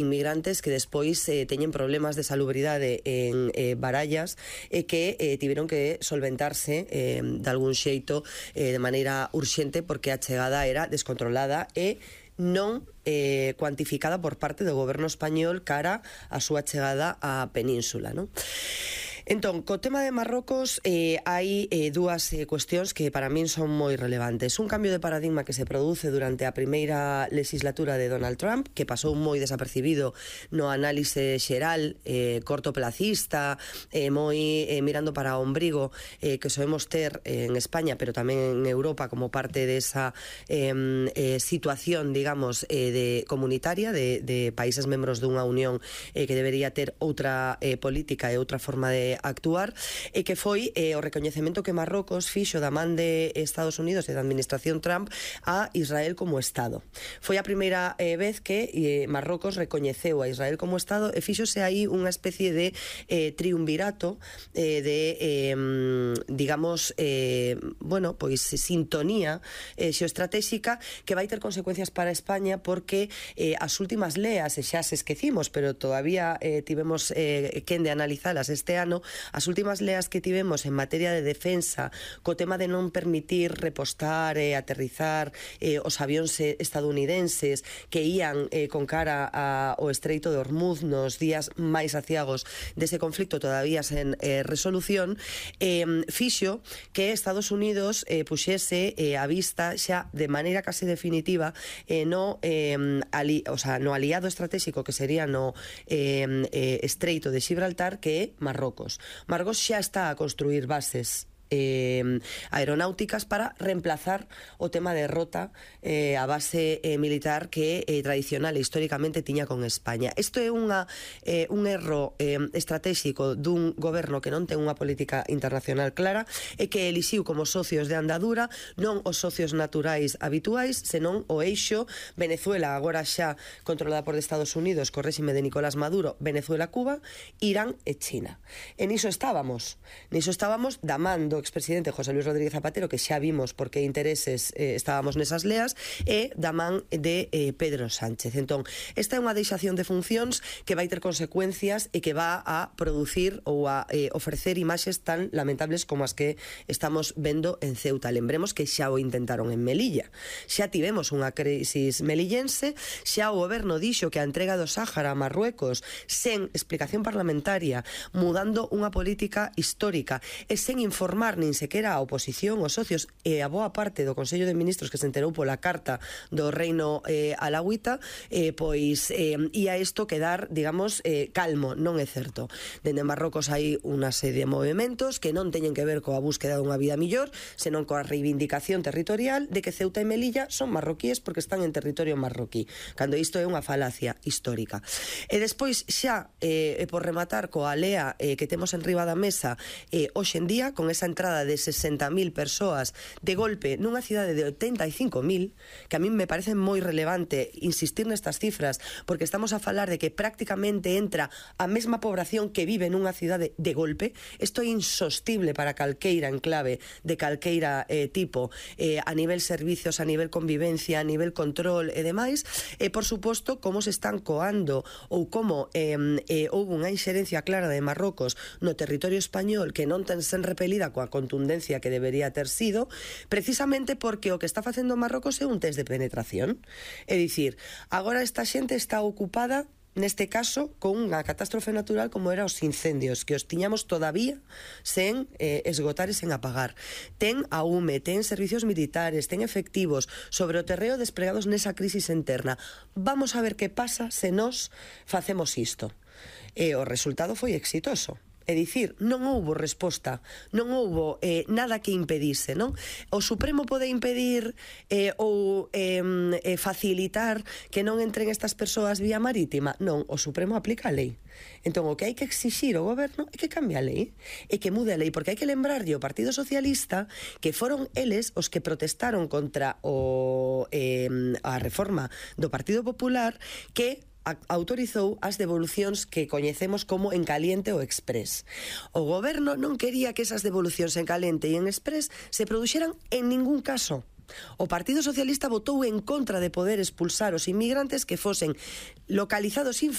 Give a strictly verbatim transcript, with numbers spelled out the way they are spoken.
inmigrantes que despois eh, teñen problemas de salubridade en eh, Barallas e que eh, tiveron que solventarse eh, de algún xeito eh, de maneira urxente porque a chegada era descontrolada e non eh, cuantificada por parte do goberno español cara a súa chegada á península, non? Entón, co tema de Marrocos eh, hai eh, dúas eh, cuestións que para min son moi relevantes. Un cambio de paradigma que se produce durante a primeira legislatura de Donald Trump, que pasou moi desapercibido no análise xeral, eh, cortoplacista, eh, moi eh, mirando para o ombrigo eh, que soemos ter eh, en España, pero tamén en Europa como parte desa eh, eh, situación, digamos, eh, de comunitaria de, de países membros dunha unión eh, que debería ter outra eh, política e outra forma de actuar, e que foi eh, o recoñecemento que Marrocos fixo da man de Estados Unidos e da administración Trump a Israel como Estado. Foi a primeira eh, vez que eh, Marrocos recoñeceu a Israel como Estado e fixose aí unha especie de eh, triunvirato eh, de, eh, digamos, eh, bueno, pois sintonía eh, xeoestratéxica que vai ter consecuencias para España porque eh, as últimas leas, e xa se esquecimos, pero todavía eh, tivemos eh, quen de analizalas este ano, as últimas leas que tivemos en materia de defensa co tema de non permitir repostar e eh, aterrizar eh, os avións estadounidenses que ían eh, con cara ao Estreito de Hormuz nos días máis aciagos dese conflicto todavía sen eh, resolución, eh, fixo que Estados Unidos eh, puxese eh, a vista xa de maneira case definitiva eh, no, eh, ali, o sea, no aliado estratégico que sería no eh, eh, Estreito de Gibraltar, que é Marrocos. Marrocos xa está a construir bases Eh, aeronáuticas para reemplazar o tema de rota eh, a base eh, militar que eh, tradicional e históricamente tiña con España. Isto é unha, eh, un erro eh, estratégico dun goberno que non ten unha política internacional clara e que elixiu como socios de andadura non os socios naturais habituais, senón o eixo Venezuela, agora xa controlada por Estados Unidos co réxime de Nicolás Maduro, Venezuela, Cuba, Irán e China. E niso estábamos, niso estábamos damando expresidente José Luis Rodríguez Zapatero, que xa vimos por que intereses eh, estábamos nesas leas, e da man de eh, Pedro Sánchez. Entón, esta é unha deixación de funcións que vai ter consecuencias e que va a producir ou a eh, ofrecer imaxes tan lamentables como as que estamos vendo en Ceuta. Lembremos que xa o intentaron en Melilla. Xa tivemos unha crisis melillense, xa o goberno dixo que a entrega do Sáhara a Marruecos sen explicación parlamentaria, mudando unha política histórica e sen informar nin sequera a oposición, os socios e a boa parte do Consello de Ministros que se enterou pola carta do Reino eh, Alawita, eh, pois eh, ia isto quedar, digamos, eh, calmo. Non é certo. Dende Marrocos hai unha serie de movimentos que non teñen que ver coa búsqueda dunha vida millor, senón coa reivindicación territorial de que Ceuta e Melilla son marroquíes porque están en territorio marroquí, cando isto é unha falacia histórica. E despois xa, eh, por rematar coa lea eh, que temos en riba da mesa eh, hoxe en día, con esa entrada de sesenta mil persoas de golpe nunha cidade de oitenta e cinco mil, que a min me parece moi relevante insistir nestas cifras, porque estamos a falar de que prácticamente entra a mesma población que vive nunha cidade de golpe. Isto é insostible para calqueira enclave de calqueira eh, tipo, eh, a nivel servicios, a nivel convivencia, a nivel control e demais, e por suposto como se están coando ou como eh, eh, houve unha inxerencia clara de Marrocos no territorio español que non ten sen repelida coa contundencia que debería ter sido, precisamente porque o que está facendo Marrocos é un test de penetración. É dicir, agora esta xente está ocupada neste caso con unha catástrofe natural como era os incendios, que os tiñamos todavía sen eh, esgotar e sen apagar. Ten a U M E, ten servicios militares, ten efectivos sobre o terreo desplegados nesa crisis interna. Vamos a ver que pasa se nós facemos isto. E o resultado foi exitoso. É dicir, non houbo resposta, non houbo eh, nada que impedise, non? O Supremo pode impedir eh, ou eh, facilitar que non entren estas persoas vía marítima? Non, o Supremo aplica a lei. Entón, o que hai que exixir ao goberno é que cambie a lei, e que mude a lei, porque hai que lembrarlle ao Partido Socialista que foron eles os que protestaron contra o, eh, a reforma do Partido Popular, que autorizou as devolucións que coñecemos como en caliente ou express. O goberno non quería que esas devolucións en caliente e en express se produxeran en ningún caso. O Partido Socialista votou en contra de poder expulsar os inmigrantes que fosen localizados